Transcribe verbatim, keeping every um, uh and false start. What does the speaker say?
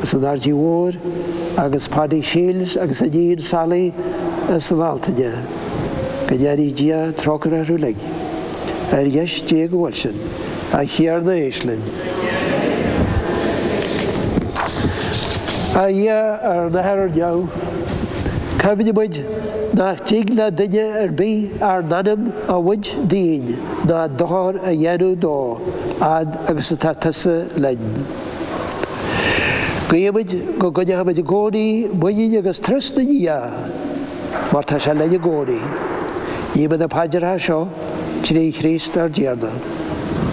as an Aird Mhóir agus Paddy Shields agus a iníon Sally as an Altaine. Go ndéana Dia trócaire orthu uilig. Ar dheis Dé go bhfuil sin, a Thiarna éist linn. A Dhia ár nAthair ar neamh, cuimhnímid nach dtig le duine ar bith ár n-anam a bhaint dínn ná dochar a dhéanamh dó, fhad agus atá tusa linn. Guímid go gcoinneoimid i gcónaí muinín agus trust i nDia, mar tá sé linn i gcónaí. Guímid na paidreacha seo trí Chríost ár dTiarna.